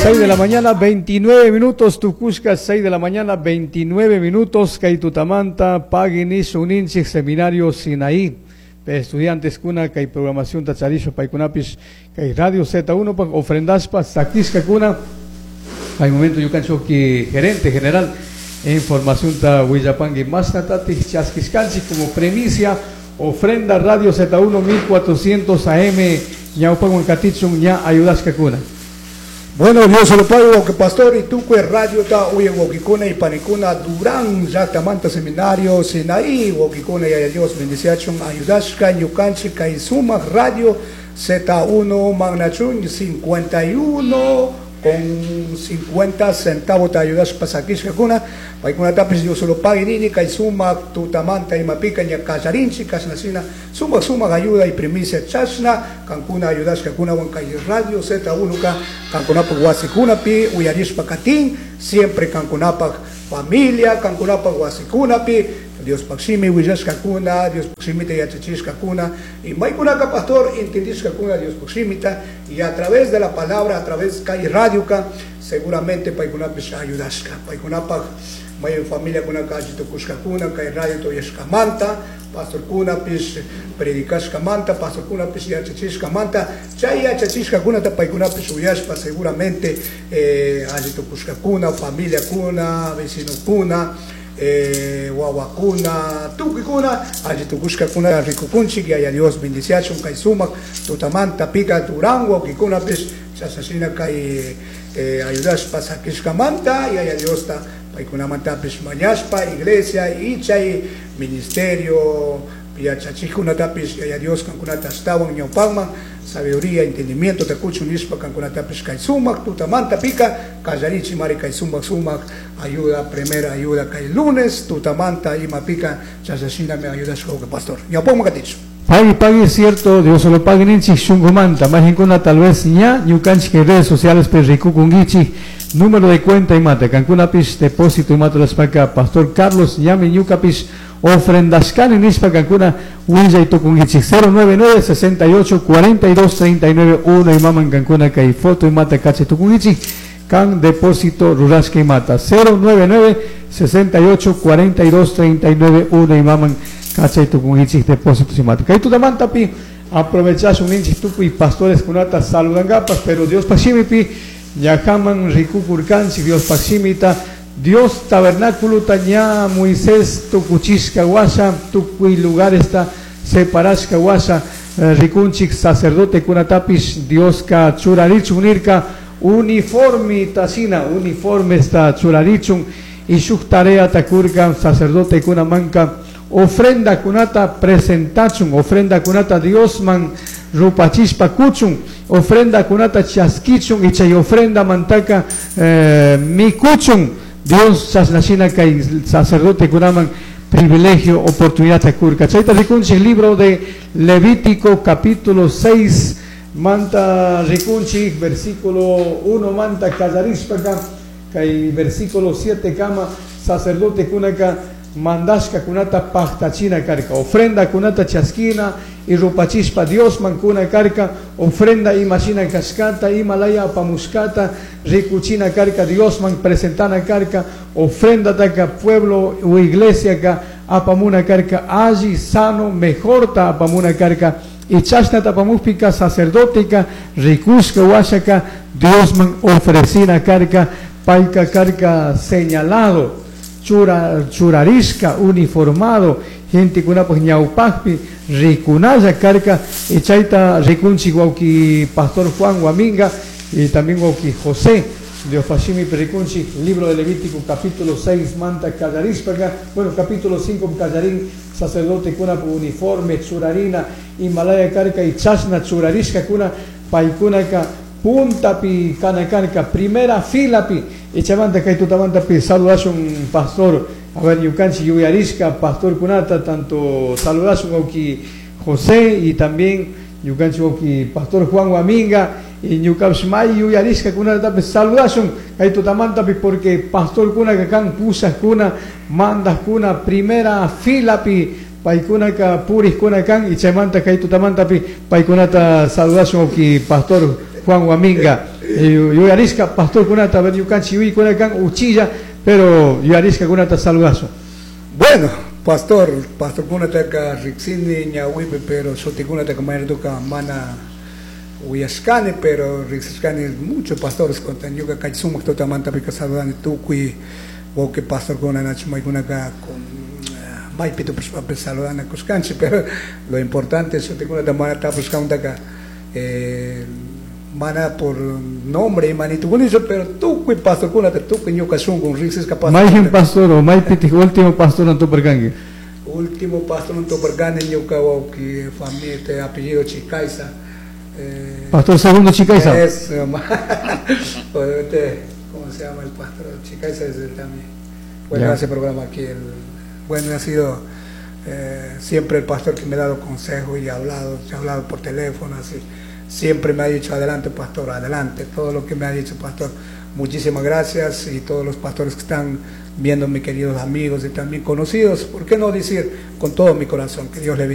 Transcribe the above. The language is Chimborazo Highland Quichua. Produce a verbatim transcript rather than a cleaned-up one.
seis de la mañana, veintinueve minutos, tucushca, seis de la mañana, veintinueve minutos, kay tutamanta, pagui nishun ninchik, Seminario Sinaí, estudiantes kuna, kay programación tacharisho, paykunapish, kay Radio Z uno, pa ofrendaspa, sakishka kuna. Hay momento ñukanchik gerente general, información ta willapangui mashnatatik chaskishkanchik como premicia, ofrenda Radio Z uno mil cuatrocientos A M, ñawpawan katichun ña ayudashkakuna. Bueno, Dios se lo pago, que pastor y tukuy radio ta uyaj wawkikuna y panikuna Durán, manta seminario Sinaí, wawkikuna y Dios bendiciachun ayudashka ñukanchik kay sumak radio Z uno mañachun cincuenta y uno con cincuenta centavos te ayudas pasakishkakuna, paykunatapis Dios se lo pague nini kay sumak tutamanta imapika ña kallarinchik kashnashina sumak sumak ayuda y primicia chashna kankuna ayudashkakunawan kay radio Z uno ka kankunapak wasikunapi uyarishpa katin siempre kankunapak familia kankunapak wasikunapi Diospak shimi willashkakuna, Diospak shimita yachachishkakuna y maykunaka pastor entendishkakuna Diospak shimita y a través de la palabra, a través kay radioka seguramente paykunapish ayudashka paykunapak may familia kunaka alli tukushkakuna kay radio uyashkamanta pastor kunapish predicashkamanta pastor kunapish yachachishkamanta chay yachachishkakunata paykunapish uyashpa seguramente eh, alli tukushkakuna familia kuna vecino kuna eh, wawakuna tukuykuna alli tukushkakuna rikukunchik. Yaya Dios bendiciachun kay sumak tutamanta pika Durán wawkikunapish chashashina kay eh, ayudashpa sakishkamanta Yaya Diosta paykunamantapish mañashpa iglesia y chay ministerio yachachikkunatapish Yaya Dios kankunata ashtawan ñawpakman sabiduría, entendimiento ta kuchun nishpa kankunatapish kay sumak tutamanta pika kallarichi mari kay sumak sumak ayuda, primera ayuda kay lunes tutamanta imapika chashashinami ayudashka pastor ñawpakman katichu. Pagui, pagui, es cierto, Dios solo pague ninchik shungumanta, majinkuna tal vez ña, ñukanchik redes sociales pe rikukunkichik, número de cuenta imata, kankunapish depósito imata rurashpaka pastor Carlos ñami ñukapish ofrendashkani nishpa kankuna willay tukunkichik cero nueve nueve sesenta y ocho cuarenta y dos treinta y nueve uno imaman kankuna kay foto imata kachay tukunkichik kan depósito rurashka imata cero nueve nueve sesenta y ocho cuarenta y dos treinta y nueve uno imaman kachay tukunkichik depósito imata. Kay tutamantapi aprovechashun ninchik tukuy pastores kunata saludangapas, pero Diospak shimipi ñajaman rikukurkanchik Diospak shimita Dios tabernáculo ña Moisés tukuchishka washa tukuy lugaresta separashka washa eh, rikunchik sacerdote kunatapish Dioska churarichun nirka uniforme tasina uniforme esta churarichun y shuk tarea takurka sacerdote kunamanka ofrenda kunata presentachun, ofrenda kunata Diosman rupachishpa kuchun, ofrenda kunata chaskichun y chay ofrenda mantaka eh, mikuchun. Dios chasnashina kay sacerdote kunaman privilegio, oportunidad takurka. Chayta rikunchik libro de Levítico capítulo seis manta rikunchik versículo uno manta kallarishpaka kay versículo siete kama sacerdote kunaka mandashka kunata paktachina karka ofrenda kunata chaskina y rupachishpa Diosman kuna karka ofrenda imashina kashkata imalaya apamushkata rikuchina karka Diosman presentana karka ofrenda taka pueblo u iglesia ka apamuna karka alli sano mejorta apamuna karka y chashna tapamukpika sacerdoteca rikushka washaka Diosman ofrecina karka payka karka señalado chura, churarishka uniformado gente kunapak ñawpakpi rikunalla karka y chayta rikunchik wawki pastor Juan Guaminga y también wawki José Diospak shimipi rikunchik libro de Levítico capítulo seis manta kallarishpaka, bueno, capítulo cinco kallarin sacerdote kuna uniforme churarina imalaya karka y chashna churarishka kuna paykunaka puntapi kana karka primera filapi y chaymanta kay tutamantapi saludashun pastor, a ver, ñukanchik yuyarishka pastor kunata tanto saludashun wawki José y también ñukanchik wawki pastor Juan Guaminga y ñukapish may yuyarishka kunatapish saludashun kay tutamantapi porque pastor kunaka kan pushakuna mandakuna primera filapi paykunaka purikkuna kan y chaymanta kay tutamantapi paykunata saludashun wawki pastor Juan Guaminga. Yuyarishka pastorkunata, a ver ñukanchik yuyaykuna kan uchilla, pero yuyarishkakunata saludazo. Bueno, pastor, pastorkunataka riksini ñawipi, pero shutikunataka mayratuka mana uyashkani, pero riksishkani muchos pastores con ñuka kay sumak tutamantapika saludani tukuy wawqi pastorkuna nachu maykunaka con maypi tupashpapish saludana kushkanchik, pero lo importante shutikunata mana tapushkamantaka eh, mana por nombre imanitukunillo, pero tukuy pastorkunata tukuy ñuka shunku riksishka pastor. Mayqin pastor o maypitik último pastor tuparkanki. Último pastor tuparkani ñuka wawqi familia apellido Chicaiza. Eh, pastor segundo Chicaiza. Es, obviamente, ¿cómo se llama el pastor? Chicaiza es el también. Bueno, yeah. Hace programa aquí. El, bueno, ha sido eh, siempre el pastor que me ha dado consejo y ha hablado, ha hablado por teléfono, así. Siempre me ha dicho, adelante pastor, adelante, todo lo que me ha dicho pastor, muchísimas gracias y todos los pastores que están viendo, mis queridos amigos y también conocidos, ¿por qué no decir con todo mi corazón que Dios le bendiga?